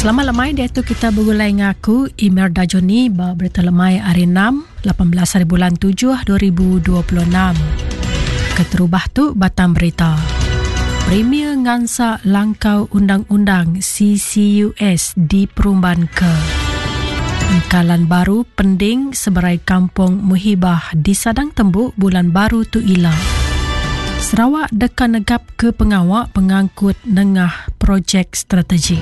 Selamat lemai diatu kita begulai enggau aku Imelda Johnny ba Berita Lemai hari 6, 18 hari bulan 7 2026. Keterubah tu batang berita. Premier ngansak langkau undang-undang CCUS diperumban ke. Engkalan baru pending seberai kampung Muhibah disadang tembu bulan baru tu ila. Sarawak deka negap ke pengawa pengangkut nengah projek strategik.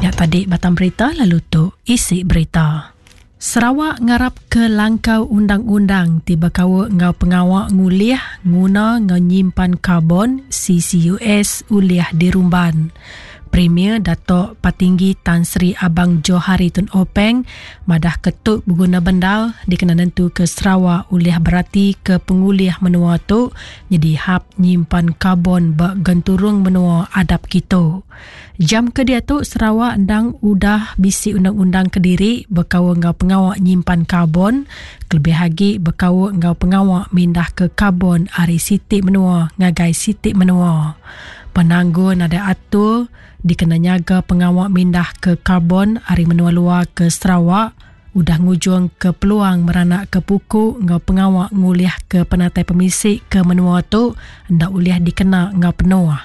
Nya tadi batang berita lalu tu isi berita. Sarawak ngarap ke langkau undang-undang ti bekaul enggau pengawa ngulih, nguna enggau nyimpan karbon, CCUS, ulih dirumban. Premier Datuk Patinggi Tan Sri Abang Johari Tun Openg madah ke tu beguna bendar dikena nentuka Sarawak ulih beratika pengulih menua tu nyadi hab nyimpan karbon ba genturung menua adap kitu. Jam ke diatu Sarawak endang udah bisi undang-undang kediri bekaul enggau pengawa nyimpan karbon kelebih agi bekaul enggau pengawa mindahka karbon ari siti menua ngagai siti menua. Penanggul nadai atur dikena nyaga pengawa mindahka karbon ari menua luar ke Sarawak udah ngujungka peluang meranakka puku enggau pengawa ngulihka penatai pemisi ke menua tu enda ulih dikena enggau penuh.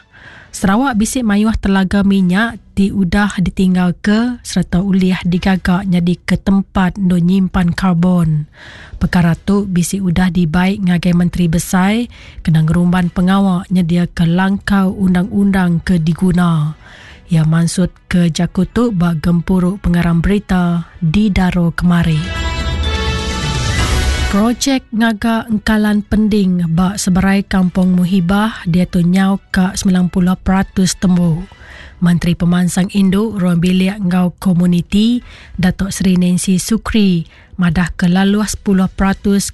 Sarawak bisi mayuh telaga minyak ti udah ditinggalka sereta ulih digaga nyadika tempat endur nyimpan karbon. Pekara tu bisi udah dibai ngagai Menteri Besai kena ngerumban pengawa nyediaka langkau undang-undang ke diguna. Iya mansutka jaku tu ba gempuru pengarang berita di Daro kemari. Projek ngaga engkalan pending ba seberai Kampung Muhibah diatu nyau ka 90% tembu. Menteri Pemansang Indu, Ruang Bilik enggau Komuniti, Datuk Seri Nancy Sukri madahka laluh 10%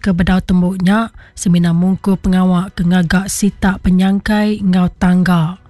ke bedau tembu nya semina mungkur pengawa ke ngaga sitak penyangkai enggau tangga.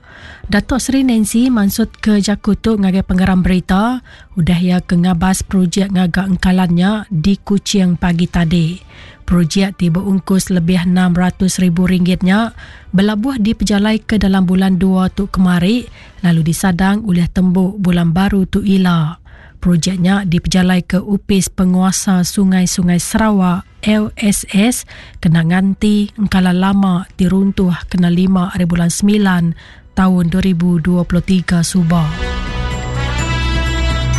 Datuk Seri Nancy mansutka jaku tu ngagai pengarang berita udah iya ke ngabas projek ngaga engkalan nya di Kuching pagi tadi. Projek ti beungkus lebih 600 ribu ringgit nya belabuh dipejalaika dalam bulan dua tu kemari lalu disadang ulih tembu bulan baru tu ila. Projek nya dipejalaika Opis Penguasa Sungai-Sungai Sarawak, LSS, kena nganti engkala lama ti runtuh kena lima ari bulan semilan taun 2023 suba.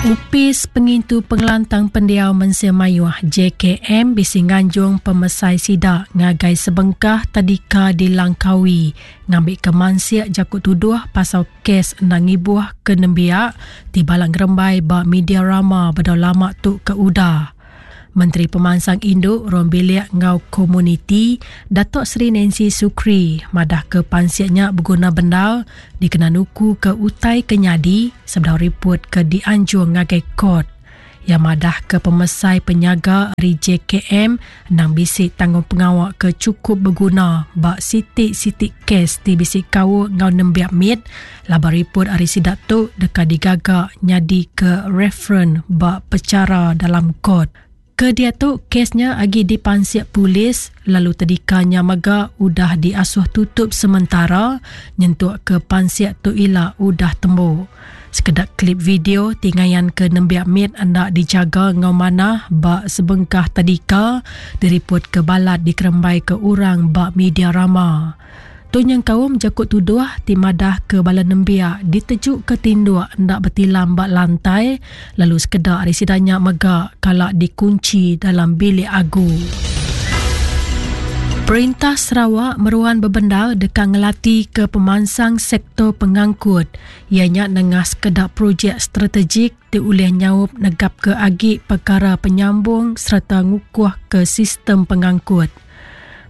Opis Pengintu Pengelantang Pendiau Mensia Mayuh, JKM, bisi nganjung pemesai sida ngagai sebengkah tadika di Langkawi ngambika mansik jaku tuduh pasal kes enda ngibuh ke nembiak ti balat ngerembai ba media rama bedau lama tu ke udah. Menteri Pemansang Indu, Ruang Bilik enggau Komuniti, Datuk Seri Nancy Sukri madahka pansik nya beguna bendar dikena nukuka utai ke nyadi sebedau riput ke dianjung ngagai kort. Iya madahka pemesai penyaga ari JKM endang bisi tanggungpengawa ke chukup beguna ba siti-siti kes ti bisi kaul enggau nembiak mit laban riput ari sida tu deka digaga nyadika referen ba pechara dalam kot. Ke diatu kes nya agi dipansik polis lalu tedika nya mega udah diasuh tutup sementara nyentukka pansik tu ila udah tembu. Sekeda klip video ti ngayanka nembiak mit enda dijaga enggau manah ba sebengkah tadika diripotka balat dikerembaika orang ba media rama. Tu nyengkaum jaku tuduh ti madahka bala nembiak ditejuka tinduk enda betilam ba lantai lalu sekeda ari sida nya mega kala dikunchi dalam bilik agu. Perintah Sarawak meruan bebendar deka ngelatika pemansang sektor pengangkut iya nya nengah sekeda projek strategik ti ulih nyaup negapka agi pekara penyambung sereta ngukuhka sistem pengangkut.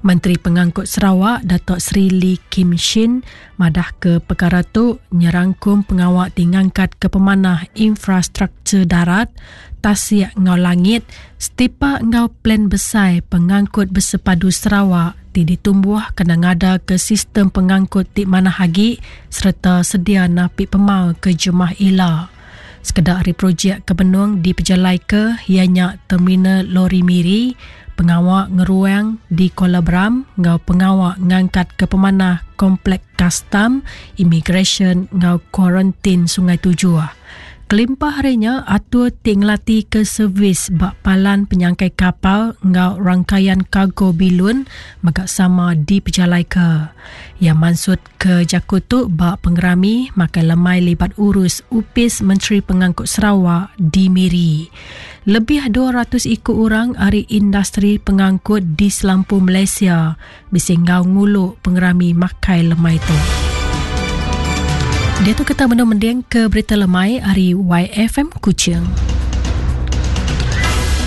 Menteri Pengangkut Sarawak Datuk Seri Lee Kim Shin madahka pekara tu nyerangkum pengawa ti ngangkatka pemanah infrastruktur darat, tasik enggau langit setipak enggau Plan Besai Pengangkut Bersepadu Sarawak ti ditumbuh kena ngadaka sistem pengangkut ti manah agi sereta sedia napi pemal ke jemah ila. Sekeda ari projek ke benung dipejalaika iya nya Terminal Lori Miri, pengawa ngeruang di Kuala Beram enggau pengawa ngangkatka pemanah Komplek Kastam, Imigresen enggau Kuarantin Sungai Tujuh. Kelimpah ari nya, atur ti ngelatika servis ba palan penyangkai kapal enggau rangkaian kargo bilun mega sama dipejalaika. Iya mansutka jaku tu ba pengerami makai lemai libat urus Opis Menteri Pengangkut Sarawak di Miri. Lebih 200 iku orang ari industri pengangkut di selampur Malaysia bisi enggau ngulu pengerami makai lemai tu. Diatu kita benung mending ke berita lemai ari YFM Kuching.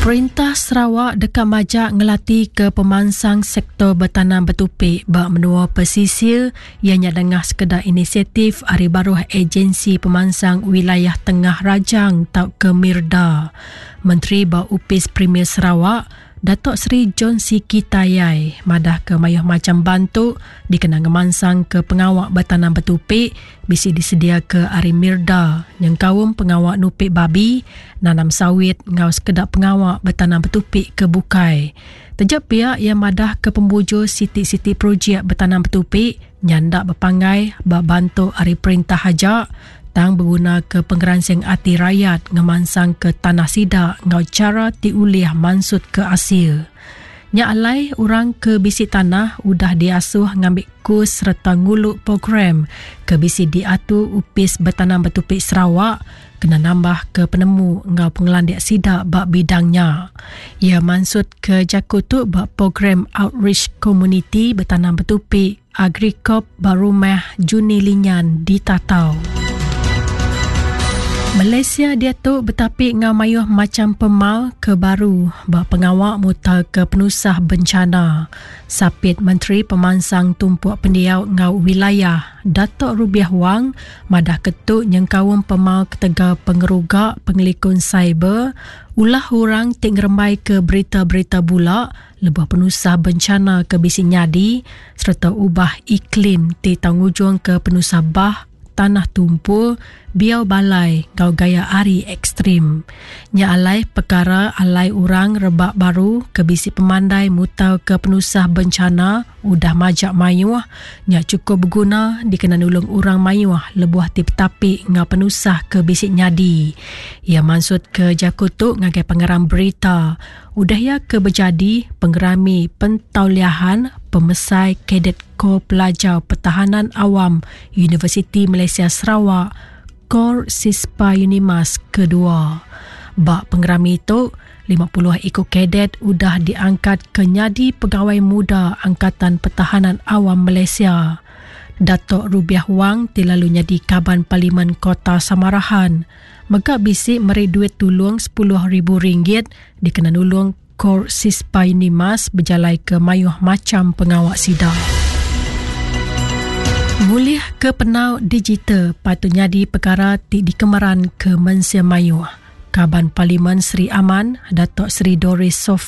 Perintah Sarawak deka majak ngelati ke pemansang sektor betanam betupi ba menua pesisir iya nya nengah sekeda inisiatif ari baruh Agensi Pemansang Wilayah Tengah Rajang tauka MIRDA. Menteri ba Opis Premier Sarawak, Datuk Seri John Sikie Tayai madahka mayuh macham bantu dikena ngemansangka pengawa betanam betupi bisi disediaka ari Mirda nyengkaum pengawa nupi babi, nanam sawit enggau sekeda pengawa betanam betupi ke bukai. Taja pia iya madahka pemujur siti-siti projek betanam betupi nya enda bepanggai ba bantu ari perintah aja tang begunaka pengeransing ati rayat ngemansangka tanah sida enggau chara ti ulih mansutka asil. Nya alai, orang ke bisi tanah udah diasuh ngambi kus sereta ngulu program ke bisi diatur Opis Betanam Betupi Sarawak kena nambahka penemu enggau pengelandik sida ba bidang nya. Iya mansutka jaku tu ba Program Outreach Komuniti Betanam Betupi Agricop ba Rumah Juni Linyan di Tatau. Malaysia diatu betapi enggau mayuh macham pemal ke baru ba pengawa mutarka penusah bencana. Sapit Menteri Pemansang Tumpuk Pendiau enggau Wilayah, Datuk Rubiah Wang madahka tu nyengkaum pemal ketegal pengeruga pengelikun siber, ulah orang ti ngerembaika berita-berita bula, lebuh penusah bencana ke bisi nyadi sereta ubah iklim ti tau ngujungka penusah bah, tanah tumpur, biau balai enggau gaya hari ekstrim. Nya alai pekara alai orang rebak baru ke bisi pemandai mutarka penusah bencana udah majak mayuh nya chukup beguna dikena nulung orang mayuh lebuh ti betapi enggau penusah ke bisi nyadi. Iya mansutka jaku tu ngagai pengarang berita Udah iya ke bejadi pengerami pentauliahan Pemesai Kadet Kor Pelajar Pertahanan Awam Universiti Malaysia Sarawak, Kor Sispa Unimas kedua. Ba pengerami tu, 50 iku kadet udah diangkat ke nyadi Pegawai Muda Angkatan Pertahanan Awam Malaysia. Datuk Rubiah Wang ti lalu nyadi Kaban Parlimen Kota Samarahan, mega bisi meri duit tulung 10,000 ringgit dikena nulung Kor Sispai Nimas bejalaika mayuh macham pengawa sida. Ngulih ke penau digital patut nyadi pekara ti dikemeran ke mensia mayuh. Kaban Parlimen Sri Aman, Datuk Seri Doris Sophie.